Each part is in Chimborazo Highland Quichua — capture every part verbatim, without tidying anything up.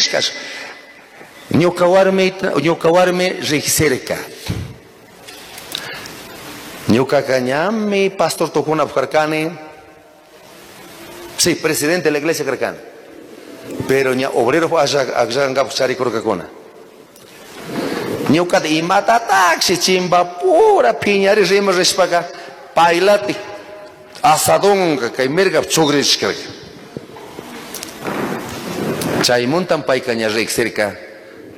Rigsishka. Ñuka warmi, ñuka warmi rigsirka. Ñukaqa ñami pastor tukunapaj karkani. Sí, presidente de la iglesia karkani. Pero ña obrero akllankapak charikurkakuna. Ñukata imatataqshi chimbapura piñari rima rishpaka paylati asadonka kay mirgap chugrishkarka. Chaymuntan payka ña riksirka,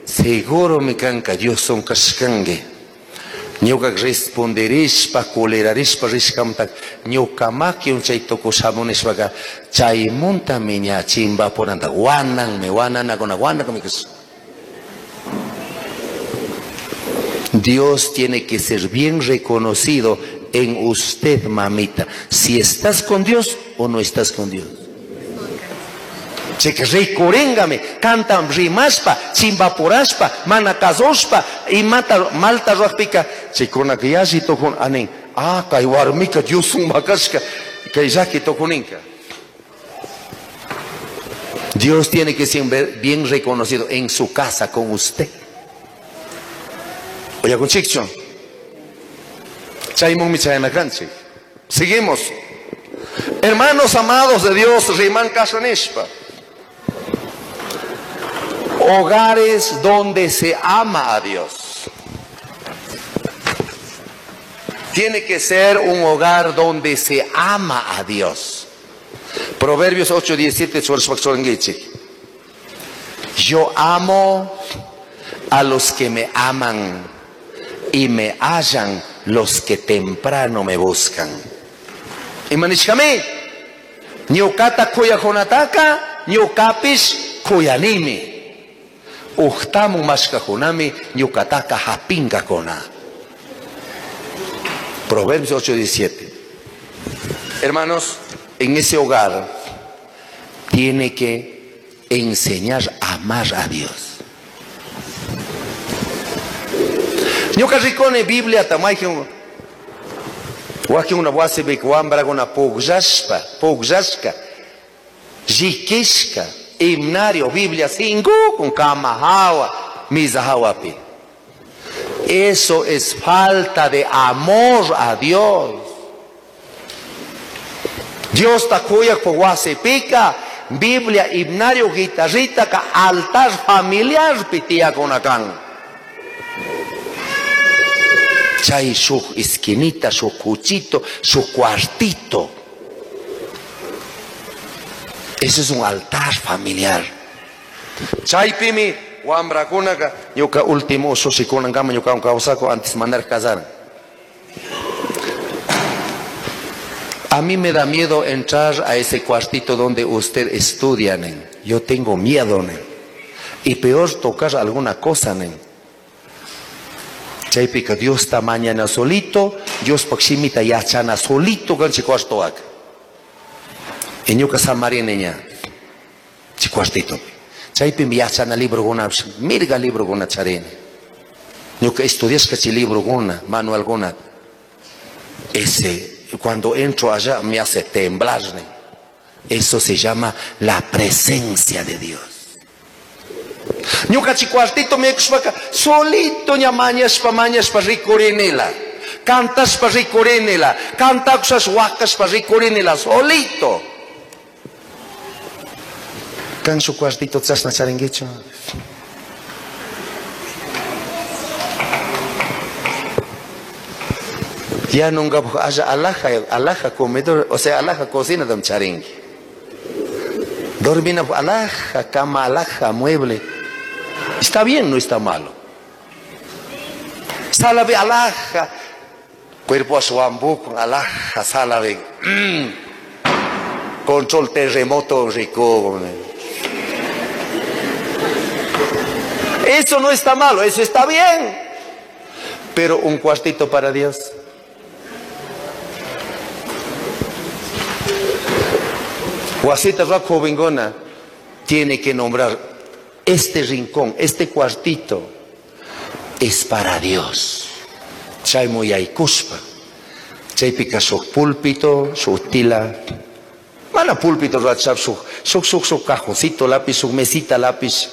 seguro mi kanka Dios kashkanki. Ñuka responderishpa, colerarishpa rishkamta, ñuka makiwan chay tukushamunishpaka chaymuntami ña chimbapuranta wananmi, wananakuna, wanakmi kash. Dios tiene que ser bien reconocido en usted, mamita. Si estás con Dios o no estás con Dios. Chika rikuringami, cantan rimashpa, chimbapurashpa, mana kazushpa, imata malta ruajpika, chaykunaka yalli tukun anin, ah, kay warmika Dios makashka, kay llaki tukuninka. Dios tiene que ser bien reconocido en su casa con usted. Oye, con chicho. Chaymunmi chayanakanchik. Seguimos. Hermanos amados de Dios, riman kashanishpa. Hogares donde se ama a Dios. Tiene que ser un hogar donde se ama a Dios. Proverbios ocho diecisiete, yo amo a los que me aman y me hallan los que temprano me buscan. Imanishkami, ñukata kuyakunataka, ñukapish kuyanimi. Uhtamu mashkajunami, ñukataka hapinkakuna. Proverbios ocho diecisiete. Hermanos, en ese hogar tiene que enseñar a amar a Dios. Ñuka rikuni Biblia tamayjun wakin una wasipi wambraguna pukllashpa, pukllashka, llikishka, himnario, Biblia sinkukun kama hawa, misa hawapi. Eso es falta de amor a Dios. Dios takuyak po wasipika, Biblia, himnario, guitarrita, ka altar familiar pitiakunakan. Chay su esquinita, su cuchito, su cuartito. Eso es un altar familiar. Chaypimi wambrakunaka ñuka último usushikunankama ñuka kawsako antes mandar casar. A mí me da miedo entrar a ese cuartito donde usted estudia, nen. Yo tengo miedo, nen. Y peor tocar alguna cosa, nen. Chaypika Dios ta mañana solito, Dios pakshimita yachana solito kan chikuartoak. Y ñuka samarineña chikuartito. Chaypimi yachana librokuna, mirga librokuna charini. Ñuka estudiashka chay librokuna, manualkuna. Ese, cuando entro allá me hace temblar. Eso se llama la presencia de Dios. Ñuka chikuartito me kushpaka solito ña mañashpa mañashpa rikurinila, cantashpa rikurinila, cantakushas wakashpa rikurinila solito. Kan su cuartito chashna charinguichu. Ya nunca haya alaja, alaja comedor, o sea, alaja cocina dam charingui. Dormina alaja, cama alaja, mueble. Está bien, no está malo. Sala de alaja, cuerpo a su ambuco, alaja, sala de mm, control terremoto rico. Eso no está malo, eso está bien. Pero un cuartito para Dios. Guasita Rock Jovengona tiene que nombrar este rincón, este cuartito, es para Dios. Chay muyaykuspa. Chaypika shuk púlpito, shuk tila. Mana púlpito rachar shuk, shuk, shuk, shuk cajoncito lápiz, shuk mesita lápiz.